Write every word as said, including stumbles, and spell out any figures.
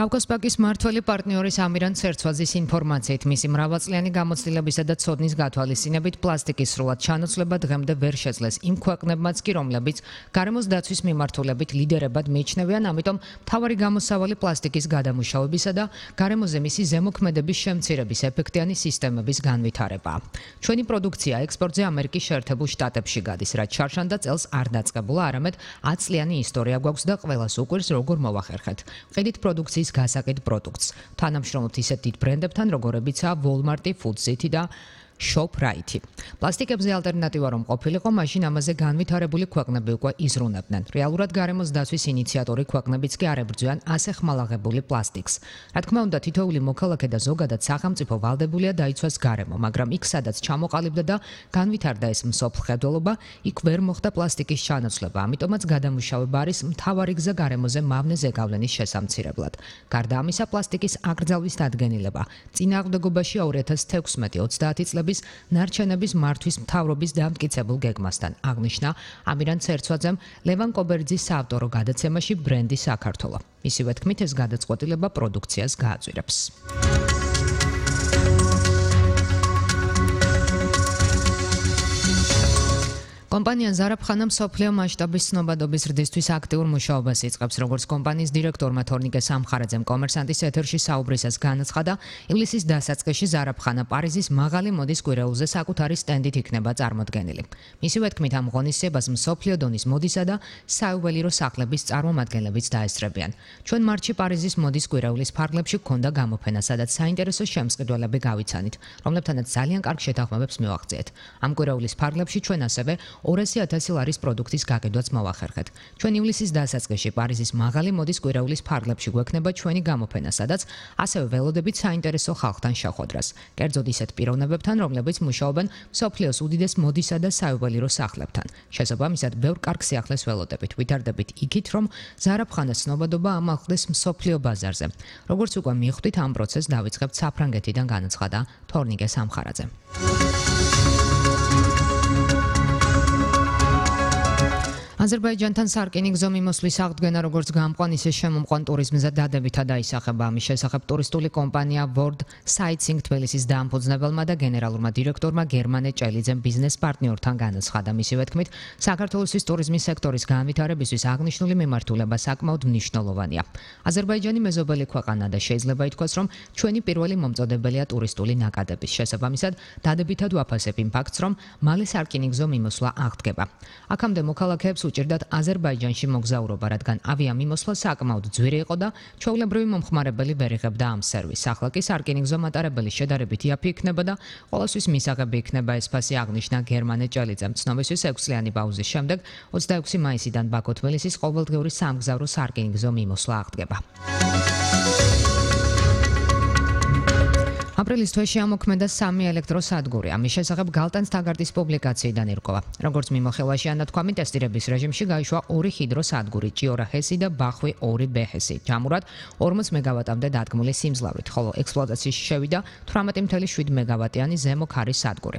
კავკასპაკის მმართველი პარტნიორის ამირან ცერცვაძის ინფორმაციით, მისი მრავალწლიანი გამოცდილებისა და ცოდნის გათვალისწინებით პლასტიკის სრულად ჩანაცვლება დღემდე ვერ შეძლეს იმ ქვეყნებმაც კი, რომლებიც გარემოს დაცვის მიმართულებით ლიდერებად მიიჩნევიან, ამიტომ მთავარი გამოსავალი პლასტიკის გადამუშავებისა და გარემოზე მისი ზემოქმედების შემცირების ეფექტიანი სისტემების განვითარებაა. ჩვენი პროდუქცია ექსპორტზე ამერიკის შეერთებულ შტატებში გადის, რაც შარშან და წელს არ დაწყებულა, არამედ ათი წლიანი ისტორია გვაქვს და ყველას უყვირს, როგორ მოვახერხეთ. ვყიდით პროდუქციის გასაკიდ პროდუქტს. თანამშრომლობთ ისეთ დიდ ბრენდებთან, როგორებიცაა Walmart, Food City და ShopRite. პლასტიკებზე ალტერნატივა რომ ყოფილიყო, მაშინ ამაზე განვითარებული ქვეყნები უკვე იზრუნებდნენ. რეალურად გარემოს დაცვის ინიციატორი ქვეყნებიც კი არ ებრძვიან ასე ხმალაღებული პლასტიკს. რა თქმა უნდა, თითოეული მოქალაქე და ზოგადად სახელმწიფო ვალდებულია დაიცვას გარემო, მაგრამ იქ სადაც ჩამოყალიბდა და განვითარდა ეს მსოფლმხედველობა, იქ ვერ მოხდა პლასტიკის ჩანაცვლება, ამიტომაც გადამუშავება არის მთავარი გზა გარემოზე მავნე ზეგავლენის შესამცირებლად. გარდა ამისა, პლასტიკის აკრძალვის დადგენილება წინააღმდეგობაში ორი ათას თექვსმეტი ოცდაათი წლების ნარჩენების მართვის მთავრობის დამტკიცებულ გეგმასთან, აღნიშნა ამირან ცერცვაძემ ლევან კობერძის საავტორო გადაცემაში ბრენდი საქართველო. მისივე თქმით, ეს გადაწყვეტილება პროდუქციას გააძვირებს. კომპანია ზარაფხანა მსოფლიო მასშტაბის ცნობადობის ზრდისთვის აქტიურ მუშაობას იწყებს, როგორც კომპანიის დირექტორმა თორნიკე სამხარაძემ კომერსანტის ეთერში საუბრისას განაცხადა, ივლისის დასაწყისში ზარაფხანა პარიზის მაღალი მოდის კვირეულზე საკუთარი სტენდით იქნება წარმოდგენილი. მისივე თქმით, ამ ღონისძიებას მსოფლიო დონის მოდისა და საიუველირო სახლების წარმომადგენლებიც დაესწრებიან. ჩვენ მარტში პარიზის მოდის კვირეულის ფარგლებში გქონდა გამოფენა, სადაც საინტერესო შემსყიდველები გავიცანით, რომლებთანაც ძალიან კარგ შეთანხმებებს მივაღწიეთ. ამ კვირეულის ფარგლებში ჩვენ ასევე ორასი ათასი ლარის პროდუქტის გაკიდვაც მოვახერხეთ. ჩვენ ივლისის დასაწყისში პარიზის მაღალი მოდის კვირეულის ფარგლებში გვექნება ჩვენი გამოფენა, სადაც ასევე ველოდებით საინტერესო ხალხთან შეხვედრას. კერძოდ ისეთ პიროვნებებთან, რომლებიც მუშაობენ მსოფლიოს უდიდეს მოდისა და საიუველირო სახლებთან. შესაბამისად, ბევრ კარგ სიახლეს ველოდებით. ვითარდებით იქით, რომ ზარაფხანას ცნობადობა ამაღლდეს მსოფლიო ბაზარზე. როგორც უკვე მიხვდით, ამ პროცესს დავიწყებთ საფრანგეთიდან, განაცხადა თორნიკე სამხარაძე. აზერბაიჯანთან სარკინიგზო მიმოსვლის აღდგენა როგორც გამყვან, ისე შემომყვან ტურიზმზე დადებითად აისახება. ამის შესახებ ტურისტული კომპანია World Sightseeing თბილისის დაამფუძნებელმა და გენერალურმა დირექტორმა გერმანე ჭელიძემ ბიზნეს პარტნიორთან განაცხადა. მისივე თქმით, საქართველოსთვის ტურიზმის სექტორის განვითარებისთვის აღნიშნული მიმართულება საკმაოდ მნიშვნელოვანია. აზერბაიჯანი მეზობელი ქვეყანა და შეიძლება ითქვას, რომ ჩვენი პირველი მომწოდებელია ტურისტული ნაკადების. შესაბამისად, დადებითად ვაფასებ იმ ფაქტს, რომ მალე სარკინიგზო მიმოსვლა აღდგება. აქამდე მოქალაქეებს უჭირდათ აზერბაიჯანში მოგზაურობა, რადგან ავიამიმოსვლა საკმაოდ ძვირი იყო და ჩვეულებრივი მომხმარებელი ვერ იღებდა ამ სერვისს. ახლა კი სარკინიგზო მატარებელი შედარებით იაფი იქნება და ყოველთვის მისაღები იქნება, ეს ფასი აღნიშნა გერმანე ჭელიძემ. ცნობისთვის ექვსი წლიანი პაუზის შემდეგ ოცდაექვსი მაისიდან ბაქო-თბილისის ყოველდღიური სამგზავრო სარკინიგზო მიმოსვლა აღდგება. აპრილის თვეში ამოქმედა სამი ელექტროსადგური. ამის შესახებ გალტანს თაგარტის პუბლიკაციიდან ირკვევა. როგორც მიმოხილვაში ანათქვამი, ტესტირების რეჟიმში გაიშვა ორი ჰიდროსადგური, ჭიორა ჰესი და ბახვი ორი ბე ჰესი. ჯამურად ორმოც მეგავატამდე დადგმული სიმძლავრით, ხოლო ექსპლუატაციაში შევიდა თვრამეტი წუთი შვიდ მეგავატიანი ზემო ქარის სადგური.